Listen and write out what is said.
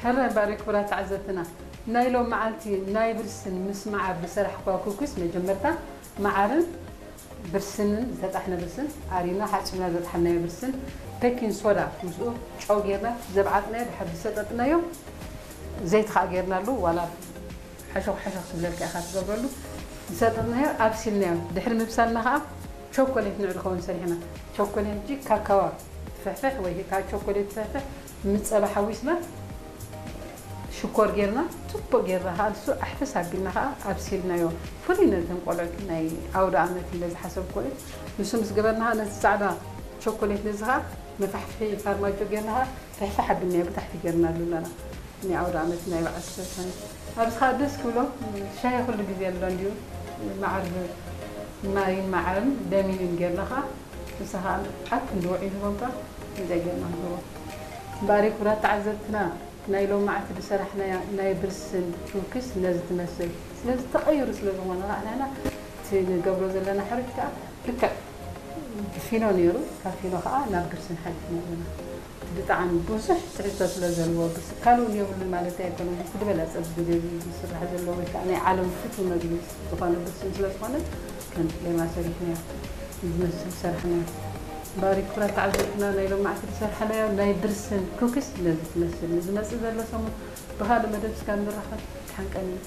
ሕራይ እምበኣር ክቡራት ተዓዘብትና፣ ናይ ሎም መዓልቲ ናይ ብርስን ምስ መዓር ዝሰራሕክዋ ኩኪስ፣ መጀመርታ መዓርን ብርስንን፣ ዝተጣሕነ ብርስን ኣሪና ሓጺብና ዘጥሓናዮ ብርስን፣ ቤኪንግ ሶዳ ምስኡ ጨው ጌርና ዘብዓጥናዮ ድሕሪ ዝሰጠጥናዮ፣ ዘይቲ ከኣ ጌርናሉ፣ ዋላ ሓሾኽ ሓሾኽ ክብለልካ ኢኻ ትገብረሉ። ዝሰጠጥናዮ ኣብሲልናዮ። ድሕሪ ምብሳልና ከኣ ቸኮሌት ንዑ ዝኸውን ሰሪሕና። ቸኮሌት ሕጂ ካካዋ ትፍሕፍሕ ወይ ከኣ ቸኮሌት ትፍሕፍሕ ምስ ጸባ ሓዊስና ሽኮር ጌርና ጽቡቕ ጌርና ከኣ ንሱ ኣሕፍስ ኣቢልና ከኣ ኣብሲልናዮ። ፍሉይ ነተን ቆልዑት ናይ ኣውደ ኣመት ኢለ ዝሓሰብክዎ እዩ። ንሱ ምስ ገበርና ከኣ ነቲ ጻዕዳ ቸኮሌት ነዚ ከኣ መፋሕፍሒ ፋርማጆ ጌርና ከኣ ፍሕፍሕ ኣቢልናዮ ብታሕቲ ጌርናሉ ኣለና። ናይ ኣውደ ኣመት ናይ በዓል ሰልጣን ኣብዚ ከኣ ደስ ክብሎ ሻሂ ኩሉ ግዜ ኣሎ እንድዩ። መዓር ማይን መዓርን ደሚንን ጌርና ከኣ ንሳ ከኣ ኣብ ክንዲ ውዑይ ንህቦም ከኣ ከምዚኣ ጌርና ንህቦም። እምበኣር ክቡራት ተዓዘብትና ናይ ሎማዓንቲ ዝሰራሕናያ ናይ ብርስን ኩኪስ ነዚ ትመስል። ስለዚ ተቐይሩ ስለ ዝኾነ ከኣ ንሕና እቲ ንገብሮ ዘለና ሕሩጭ ከኣ ልክዕ ብፊኖ ነይሩ፣ ካብ ፊኖ ከኣ ናብ ብርስን ሓሊፍና ኣለና። እቲ ብጣዕሚ ብዙሕ ትሕዝቶ ስለ ዘለዎ ብርስ ካልእ እውን የብሉን ማለት ኣይኮነን። እቲ ዝበለጸ ኣብዚ ግዜ እዚ ዝስራሕ ዘሎ ወይ ከኣ ናይ ዓለም ፍቱው መግቢ ዝኾነ ብርስን ስለ ዝኾነ ከም ሌማ ሰሪሕናዮ ዝመስል ዝሰራሕናዮ። እምበኣር ክቡራት ተዓዘብትና ናይ ሎማዓንቲ ዝሰራሕናዮ ናይ ብርስን ኩኪስ ነዚ ትመስል። ንዝመጽእ ዘሎ ሰሙን ብኻልእ መደብ እስካብ ንራኸብ ደሓን ቀንዩ።